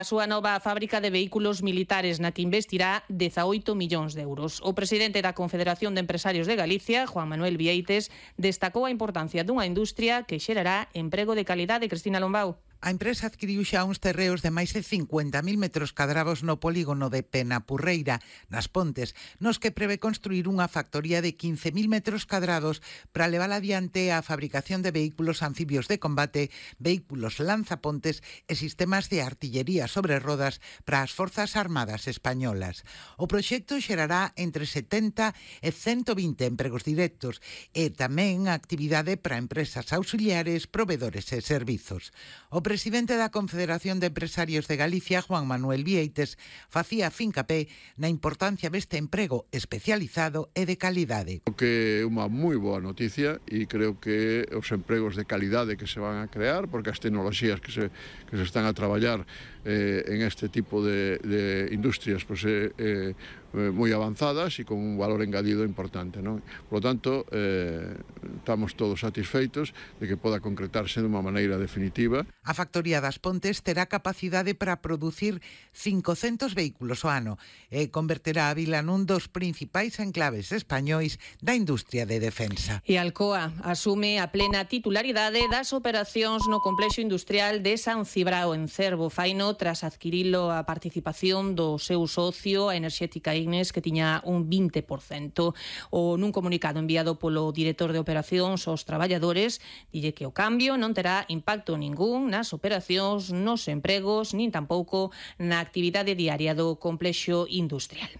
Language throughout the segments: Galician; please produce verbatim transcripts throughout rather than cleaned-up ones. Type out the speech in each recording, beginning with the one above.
A súa nova fábrica de vehículos militares na que investirá dezaoito millóns de euros. O presidente da Confederación de Empresarios de Galicia, Juan Manuel Vieites, destacou a importancia dunha industria que xerará emprego de calidade. Cristina Lombao. A empresa adquiriu xa uns terreos de máis de cincuenta mil metros cadrados no polígono de Penapurreira, nas Pontes, nos que prevé construir unha factoría de quince mil metros cadrados para levar adiante a fabricación de vehículos anfibios de combate, vehículos lanzapontes e sistemas de artillería sobre rodas para as Forzas Armadas españolas. O proxecto xerará entre setenta e ciento vinte empregos directos e tamén actividade para empresas auxiliares, provedores e servizos. O presidente da Confederación de Empresarios de Galicia, Juan Manuel Vieites, facía fincapé na importancia deste emprego especializado e de calidade. Creo que é unha moi boa noticia e creo que os empregos de calidade que se van a crear, porque as tecnoloxías que se, que se están a traballar eh, en este tipo de, de industrias pues, eh, eh, moi avanzadas e con un valor engadido importante, non? Por lo tanto, eh, estamos todos satisfeitos de que poda concretarse de unha maneira definitiva. A factoría das Pontes terá capacidade para producir cincocentos vehículos ao ano e converterá a vila nun dos principais enclaves españois da industria de defensa. E Alcoa asume a plena titularidade das operacións no complexo industrial de San Cibrao en Cervo. Faino tras adquirilo a participación do seu socio, a enerxética Ignes, que tiña un vinte por cento. O nun comunicado enviado polo director de operacións aos traballadores, dille que o cambio non terá impacto ningún nas operacións, nos empregos, nin tampouco na actividade diaria do complexo industrial.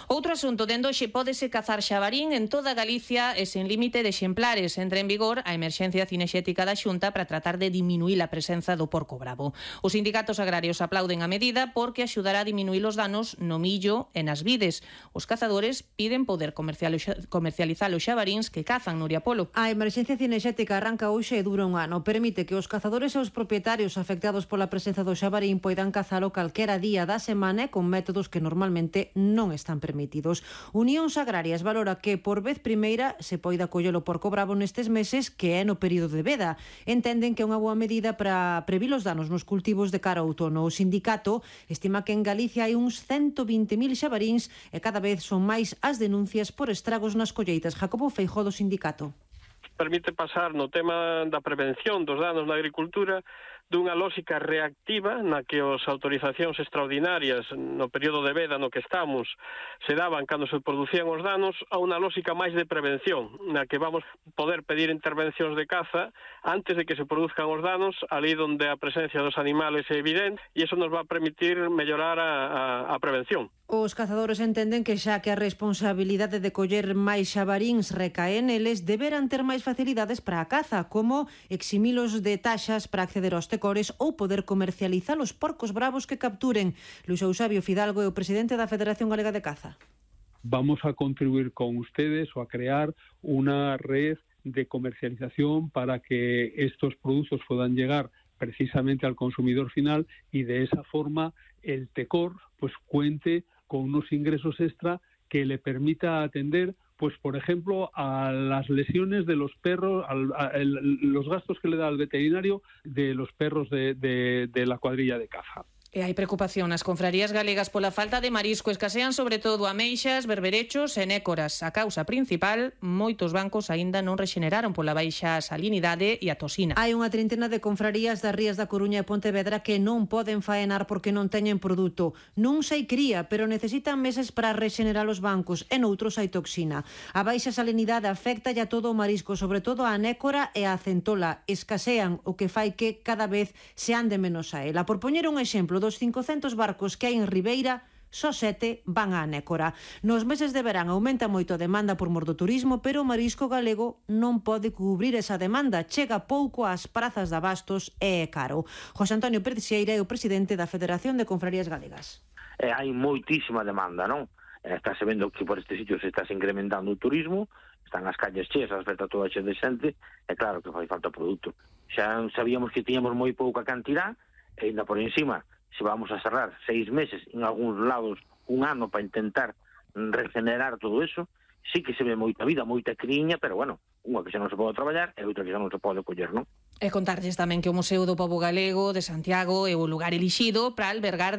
Outro asunto, dende hoxe pódese cazar xabarín en toda Galicia e sen límite de exemplares. Entra en vigor a emerxencia cinexética da Xunta para tratar de diminuir a presenza do porco bravo. Os sindicatos agrarios aplauden a medida porque axudará a diminuir os danos no millo e nas vides. Os cazadores piden poder comercializar os xabaríns que cazan. Nuria Polo. A emerxencia cinexética arranca hoxe e dura un ano. Permite que os cazadores e os propietarios afectados pola presenza do xabarín poidan cazalo calquera día da semana e con métodos que normalmente non están permitidos. Unións Agrarias valora que por vez primeira se poida coller o porco bravo nestes meses, que é no período de veda. Entenden que é unha boa medida para previr os danos nos cultivos de cara ao outono. O sindicato estima que en Galicia hai uns ciento vinte mil xabaríns e cada vez son máis as denuncias por estragos nas colleitas. Jacobo Feijóo, do sindicato. Permite pasar no tema da prevención dos danos na agricultura dunha lógica reactiva na que as autorizacións extraordinarias no período de veda no que estamos se daban cando se producían os danos a unha lógica máis de prevención, na que vamos poder pedir intervencións de caza antes de que se produzcan os danos, ali onde a presencia dos animales é evidente, e iso nos va a permitir mellorar a, a, a prevención. Os cazadores entenden que xa que a responsabilidade de coller máis xabaríns recae neles, deberán ter máis facilidades para a caza, como eximilos de taxas para acceder aos tecores ou poder comercializar os porcos bravos que capturen. Luis Eusebio Fidalgo é o presidente da Federación Galega de Caza. Vamos a contribuir con ustedes o a crear una red de comercialización para que estos productos puedan llegar precisamente al consumidor final y de esa forma el tecor pues cuente con unos ingresos extra que le permita atender, pues por ejemplo, a las lesiones de los perros, al, a el, los gastos que le da al veterinario de los perros de, de, de la cuadrilla de caza. E hai preocupación nas confrarías galegas pola falta de marisco. Escasean sobre todo ameixas, berberechos e nécoras. A causa principal, moitos bancos aínda non rexeneraron pola baixa salinidade e a toxina. Hai unha trintena de confrarías das rías da Coruña e Pontevedra que non poden faenar porque non teñen produto. Non sei cría, pero necesitan meses para rexenerar os bancos, e noutros hai toxina. A baixa salinidade afecta a todo o marisco, sobre todo a nécora e a centola. Escasean, o que fai que cada vez se ande menos a ela. Por poñer un exemplo, dos cincocentos barcos que hai en Ribeira, só sete van á nécora. Nos meses de verán aumenta moito a demanda por mor do turismo, pero o marisco galego non pode cubrir esa demanda. Chega pouco ás prazas de abastos e é caro. José Antonio Pérez Xeira é o presidente da Federación de Confrarías Galegas. Eh, hai moitísima demanda, non? Eh, estáse vendo que por estes sitios se está incrementando o turismo, están as calles cheas, as vetas toda cheia de xente, e claro que fai falta produto. Xa sabíamos que tiñamos moi pouca cantidad, e ainda por encima, se vamos a cerrar seis meses, en algúns lados un ano para intentar regenerar todo eso, sí que se ve moita vida, moita criña, pero bueno, unha que xa non se pode traballar e outra que xa non se pode coller, non? E contarlles tamén que o Museo do Pobo Galego de Santiago é o lugar elixido para albergar